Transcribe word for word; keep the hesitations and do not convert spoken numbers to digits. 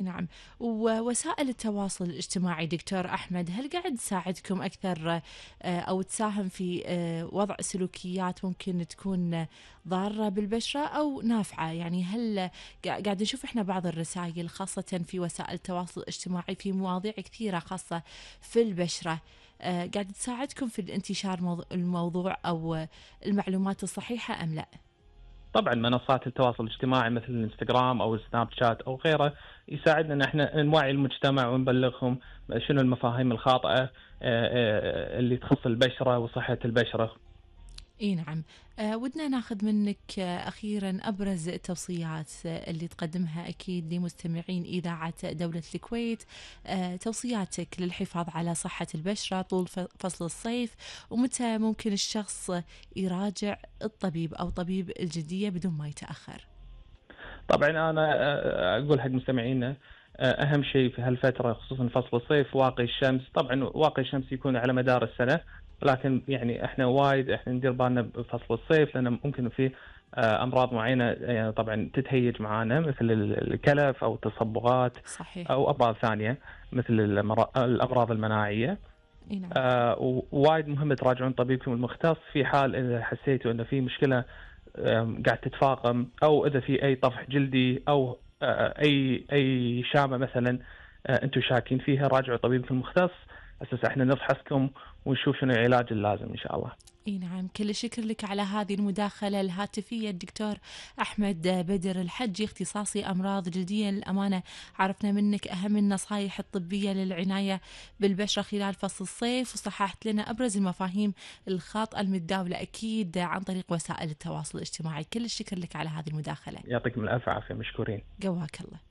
نعم. ووسائل التواصل الاجتماعي دكتور أحمد هل قاعد تساعدكم أكثر آه، أو تساهم في آه، وضع سلوكيات ممكن تكون ضارة بالبشرة أو نافعة؟ يعني هل قا- قاعد نشوف إحنا بعض الرسائل خاصة في وسائل التواصل الاجتماعي في مواضيع كثيرة خاصة في البشرة، آه، قاعد تساعدكم في الانتشار موضوع الموضوع أو المعلومات الصحيحة أم لا؟ طبعا منصات التواصل الاجتماعي مثل الانستغرام او السناب شات او غيره يساعدنا ان احنا نوعي المجتمع ونبلغهم شنو المفاهيم الخاطئه آه، آه، اللي تخص البشره وصحه البشره. اي نعم. آه ودنا ناخذ منك آه أخيرا أبرز التوصيات آه اللي تقدمها أكيد لمستمعين إذاعة دولة الكويت، آه توصياتك للحفاظ على صحة البشرة طول ف- فصل الصيف، ومتى ممكن الشخص يراجع الطبيب أو طبيب الجلدية بدون ما يتأخر. طبعا انا آه، اقول حق مستمعينا آه، اهم شيء في هالفتره خصوصا فصل الصيف واقي الشمس. طبعا واقي الشمس يكون على مدار السنه، لكن يعني احنا وايد احنا ندير بالنا بفصل الصيف لان ممكن في آه، امراض معينه يعني طبعا تتهيج معانا مثل ال- الكلف او التصبغات صحيح. او امراض ثانيه مثل الأمر- الامراض المناعيه. اي نعم. آه، ووايد مهم تراجعون طبيبكم المختص في حال اذا حسيتوا انه في مشكله آم، قاعد تتفاقم، او اذا في اي طفح جلدي او آه، اي اي شامه مثلا آه، انتم شاكين فيها. راجعوا طبيبكم المختص اساس احنا نفحصكم ونشوف شنو العلاج اللازم ان شاء الله. اي نعم. كل الشكر لك على هذه المداخلة الهاتفية الدكتور أحمد بدر الحجي، اختصاصي أمراض جلدية. للأمانة عرفنا منك أهم النصائح الطبية للعناية بالبشرة خلال فصل الصيف، وصححت لنا أبرز المفاهيم الخاطئة المتداولة أكيد عن طريق وسائل التواصل الاجتماعي. كل الشكر لك على هذه المداخلة. يعطيكم الف عافيه، مشكورين. قواك الله.